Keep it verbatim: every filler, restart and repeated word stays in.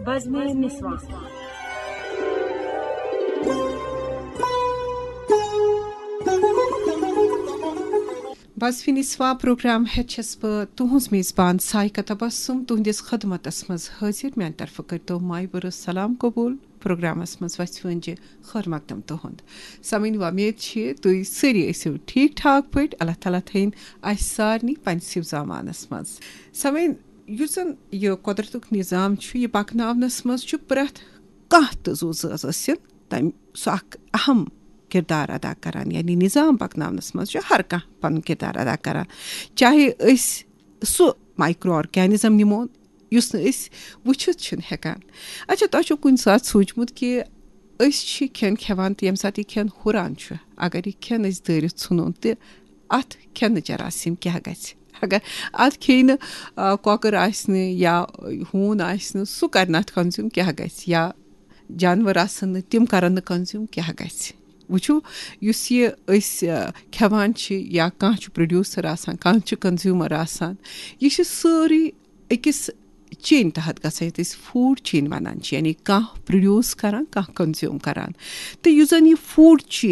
بزمِ نسواں۔ بزمِ نسواں programme ہیٚتھ چھَس بہٕ تُہٕنٛز میزبان سائقہ تبسم تُہٕنٛدِس خدمتس منٛز حٲضِر۔ میانہِ طرفہٕ کٔرۍتو مایہِ بٔرٕژ سلام قبول۔ پروگرامس منٛز وژھِ وٲنجہِ خٲر مقدم تُہُنٛد۔ سامعیٖن، وۄمید چھِ تُہۍ سٲری ٲسِو ٹھیٖک ٹھاک پٲٹھۍ۔ اللہ تعالیٰ تھٲیِن اَسہِ سارنٕے پننِس حفظ امانس منٛز۔ سامعیٖن، یُس زن یہِ قۄدرتُک نظام چھُ، یہِ پکناونس منٛز چھُ پرٛٮ۪تھ کانٛہہ تہٕ زُو زٲژ ٲسِن تَمہِ سُہ اکھ اہم کردار ادا کران، یعنی نظام پکناونس منٛز چھُ ہر کانٛہہ پنُن کردار ادا کران، چاہے أسۍ سُہ مایکرو آرگینزم نِمو یُس نہٕ أسۍ وٕچھِتھ چھِنہٕ ہٮ۪کان۔ اچھا، تۄہہِ چھُو کُنہِ ساتہٕ سوٗنٛچمُت کہِ أسۍ چھِ کھٮ۪ن کھٮ۪وان تہٕ ییٚمہِ ساتہٕ یہِ کھٮ۪ن ہُران چھُ، اگر یہِ کھٮ۪ن أسۍ دٲرِتھ ژھٕنون تہٕ اَتھ کھٮ۪نہٕ جراثیم کیٛاہ گژھِ؟ اگر اَتھ کھیٚیہِ نہٕ، آ، کۄکٕر آسہِ نہٕ یا ہوٗن آسہِ نہٕ، سُہ کَرِ نہٕ اَتھ کنزیوٗم کیٛاہ گژھِ؟ یا جانور آسَن نہٕ، تِم کَرَن نہٕ کنزیوٗم کیٛاہ گژھِ؟ وٕچھِو، یُس یہِ أسۍ، آ، کھٮ۪وان چھِ یا کانٛہہ چھُ پرٛوڈیوٗسَر آسان، کانٛہہ چھُ کنزیوٗمَر آسان، یہِ چھِ سٲرٕے أکِس چینہِ تحت گژھان، یَتھ أسۍ فوٗڈ چین وَنان چھِ، یعنی کانٛہہ پرٛوڈیوٗس کَران، کانٛہہ کنزیوٗم کَران۔ تہٕ یُس زَن یہِ فوٗڈ چین